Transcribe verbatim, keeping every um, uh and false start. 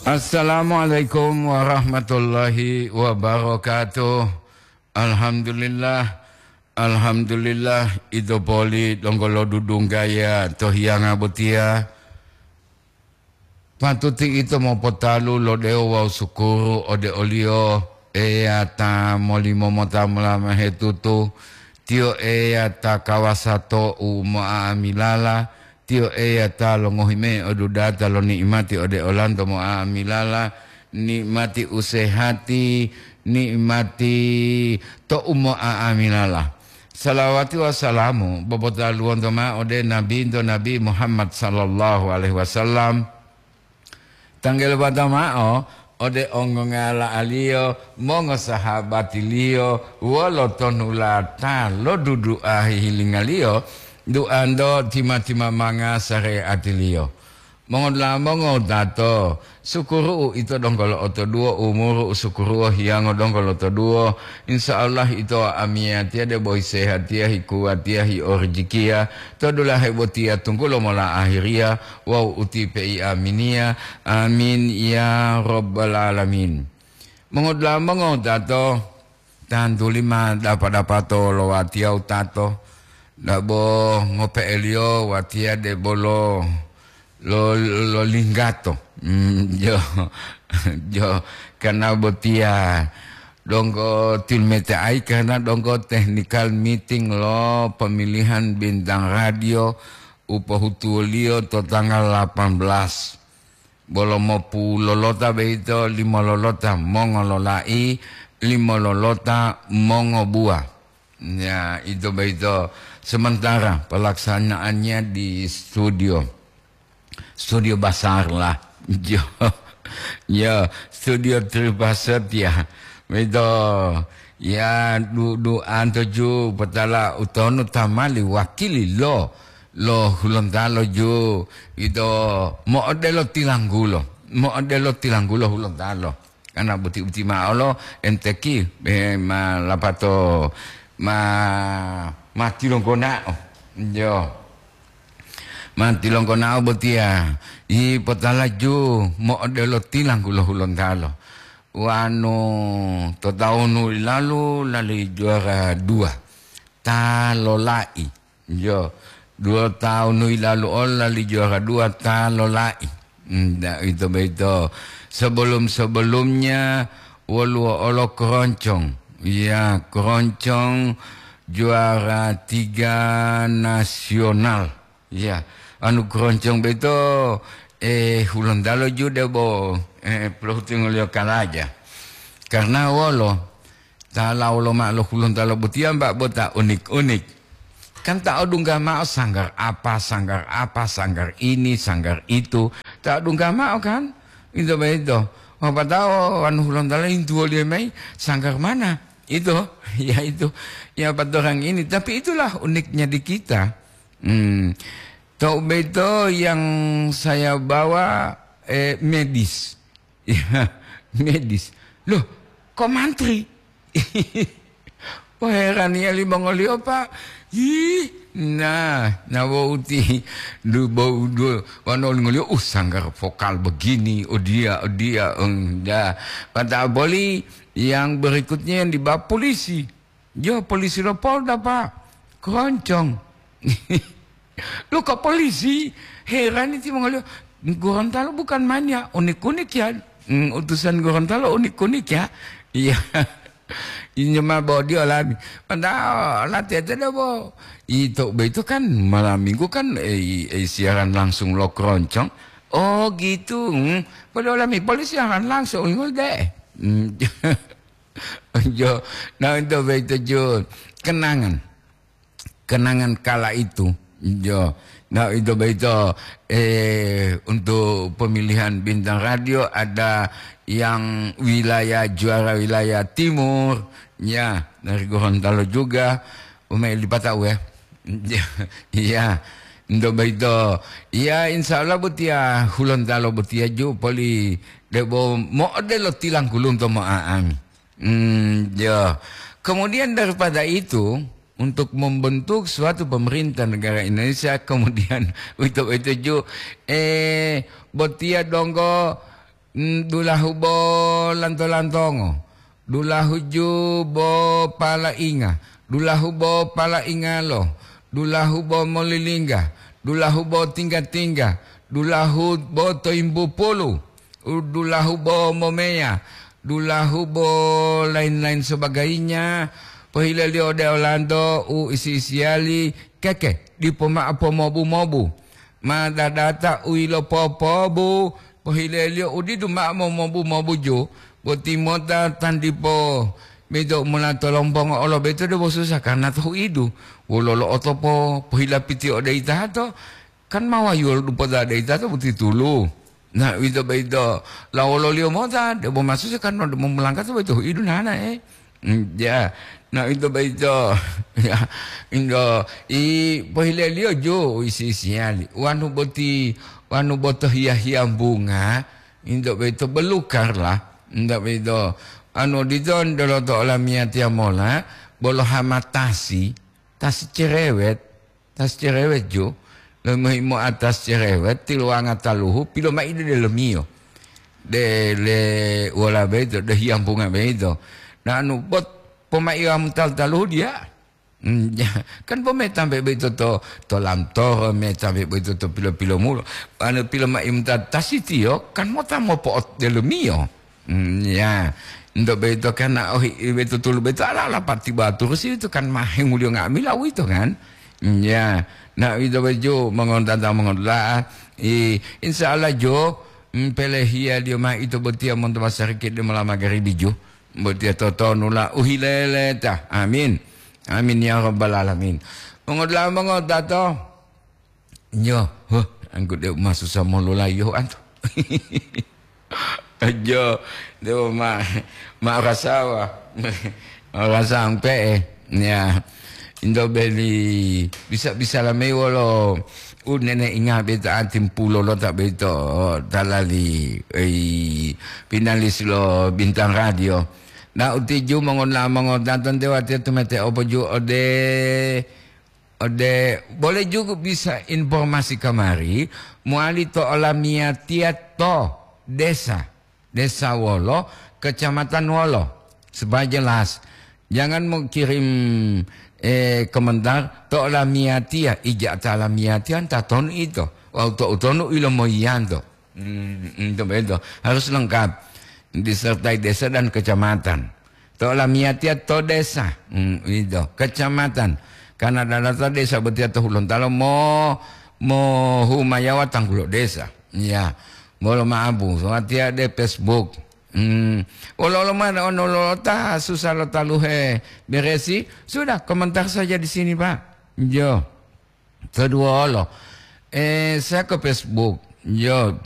Assalamualaikum warahmatullahi wabarakatuh. Alhamdulillah, alhamdulillah, ito poli donggo lodudunggaya to hiyanga botiya. Patuti ito mopotalu lo dewo wawu sukuru ode o-Liyo, Eya ta molimo mota molamahe tutu. Tiyo Eya ta kawasa to u mo'a'amilala. Tiyo Eya ta longohi mayi odudata lo ni'imati ode olanto mo'a'amilala, ni'imati usehati, ni'imati to u mo'a'amilala. Salawati wawu salamu bobotaluwonto ma'o ode Nabinto Nabi Muhammad sallallahu alaihi wasallam. Tanggalipata ma'o ode ongongala-Aliyo, mongosahabatiliyo, wolo tonulata lo dudu'a hihilinga-Liyo, duanto tima-timamanga sare'atiliyo. Mongodula'a mongowutato, sukuru'u ito donggo lo'otoduwo, umuru u sukuruwo hiyango donggo lotoduwo. Insya Allah ito amiyatiya debo hisehatiya, hikuwatiya, hiorijikiya, to dulahe botiya tunggulo mola ahiriya wawu utipe'i aminiya. Amin ya rabbal alamin. Mongodula'a mongowutato, tantuli ma dapa-dapato lo watiya wutato, dabo ngope'eliyo watiya debolo lo, lo linggato. Mm, jo, jo, karena botiya donggo tilmete'ayi karena donggo technical meeting lo pemilihan bintang radio u pohutuwoliyo to tanggal delapan belas. Bolo mopulolota boyito limo lolota mongololai, limo lolota mongobuwa. Ya, ito boyito sementara pelaksanaannya di studio. Studio besar lah. Jo, ya, studio Tripaset ya. Boyito, ya, du-, duanto ju potala utonu tamali wakili lo, lo Hulontalo ju. Ito mo'odelo tilanggulo, mo'odelo tilanggulo Hulontalo. Karena buti-buti ma'o lo M T Q, eh, ma lapato ma, ma tilonggona'o. Jo. Ma tilonggona'o botiya, i potalaju mo'odelo tilanggulo Hulontalo. Wanu to taunu ilalu lali juara dua. Ta lola'i. Jo, dua tahun hilalu olo lali juara dua ta lola'i. Nda, ito boyito. Sebelum-sebelumnya woluwo olo keroncong. Ya, keroncong juara tiga nasional. Ya, anu keroncong boyito, eh, Hulontalo ju debo, eh, pelohutingoliyo kalaja. Karena wolo, ta lawo loma'o lo Hulontalo botiya, mbak, bo ta unik-unik. Kan ta odungga ma'o sanggar apa, sanggar apa, sanggar ini, sanggar itu. Ta odungga ma'o kan? Ito boyito. Wapatao wanu Hulontalo yintuwoliyo mayi, "Sanggar mana?" Itu, ya itu. Ya, patorang ini. Tapi itulah uniknya di kita. Hmm. Tou boyito yang saya bawa, eh, medis. Ya, medis. Loh, kok mantri? Wah, heraniya limongoliyo, Pak. Ih, nah, nah, wouti. Du-, bou-, du-, wanu olingoliyo, "Uh, sanggar vokal begini, oh dia, oh dia, eng, dah." Mata boli yang berikutnya yang dibawa polisi. Yo, polisi lo Polda, Pak. Keroncong. Loh, kok polisi? Heran iti mongoliyo. Gorontalo bukan main ya, unik-unik ya. Hmm, utusan Gorontalo unik-unik ya. Iya. Inyo ma bodi olami. Padahal latihan debo. Itu, itu kan malam minggu kan, eh, eh, siaran langsung lo keroncong. Oh, gitu. Hmm. Padahal olami polisi siaran langsung, ingat deh. Hmm. Jo, nah, itu boyito, Jun. Kenangan. Kenangan kala itu. Jo. Nah, itu boyito, eh, untuk pemilihan bintang radio ada yang wilayah, juara wilayah timur. Ya, dari Gorontalo juga. Umai lipata uwe. Iya. Untuk boyito. Ya, insya Allah botiya, Hulontalo botiya ju poli debo mo'odelo tilangkulunto mo'a'ami. Hmm, ya. Kemudian daripada itu, untuk membentuk suatu pemerintah negara Indonesia, kemudian itu, itu ju, eh, botiya donggo Mm, dulahu bo lanto-lantongo, dulahu ju bo palainga, dulahu bo palaingalo, dulahu bo molilingga, dulahu bo tingga-tingga, dulahu bo toimbu pulu, u-, dulahu bo momeya, dulahu bo lain-lain sebagainya. Pohileliyo ode olanto u isi-isiyali, keke, dipo mao pomobu-mobu. Ma dadata u yilopopobu, pohileliyo u didu mao momobu-mobuju, boti mota tandipo beto mula tolombongo olo beto debo susa karna to huidu. Wololo otopo pohilapiti ode itato, kan ma wayuwolo dupota ode itato boti tulu. Na, uwito boyito, lawololiyo mota, debo masusa kan debo mulangkato boyito huidu nana, eh. Mm, ya, na, uwito boyito, ya, indo, i, pohileliyo jo, isi-isiyali. Wanu boti, wanu boto hiya-hiya bunga, indo boyito belukar lah, indo boyito, anu dito, ndoloto olamiyatiya mola, bolo hamatasi, tasi cerewet, Tas cerewet ju, lomohi moatas cerewet, tiluwanga taluhu, pilomai de delomiyo. De le wola boyito, de hiyampunga boyito. Na anu bot pomaiwamu tal-taluhu diya. Hmm, ya, kan bo metambe boyito to, to lamtoro, metambe boyito to pilo-pilomulo. Anu pilomai muta tasitiyo, kan mota mopo'ot delomiyo. Hmm, ya. Ento boyito kan na ohi, boyito tulu boyito ala-ala pati baturu si itu kan mahenguliyo nga'amila uwito kan. Hmm, ya. Na uwito boyito mongontanta mongontula'a. I, insya Allah jo, mm, pelehiyaliyo ma ito botiya monto masariki de mola magaribi jo. Botiya totonu la uhileleta. Amin. Amin ya rabbal alamin. Mongontula'a mongontato. Yo, huh, anggude masusa mololayo antu. Ajo, dewo ma, ma rasawa. Ma rasawa pe'e. Ya. Indo beli bisa-bisa lamei wolo u nene inga beta atimpulo lo ta beto talali, ei, finalis lo Bintang Radio. Na utiju mongon-, mongotaton dewa tia tumete opoju ode Ode, boleh juga bisa informasi kamari, mowali to olamiyatiya to desa, desa wolo, kecamatan wolo, supaya jelas. Jangan mau kirim, eh, komentar to olamiyatiya, ija ta olamiyatiya, ta tonu ito, wawu to utonu ilo moyiyanto. Hmm, hmm, to beto. Harus lengkap. Disertai desa dan kecamatan. To lamiyatiya to desa, hmm, ito, kecamatan. Karena dalata desa botiya to Hulontalo mo, mo humayawa tanggulo desa. Ya, bolo maabu, soatiya de Facebook. Hmm, olo-olo mana ono lolota susah lo taluhe beresi. Sudah, komentar saja di sini, Pak. Jo. Kedua olo. Eh, saya ke Facebook. Jo, Pak.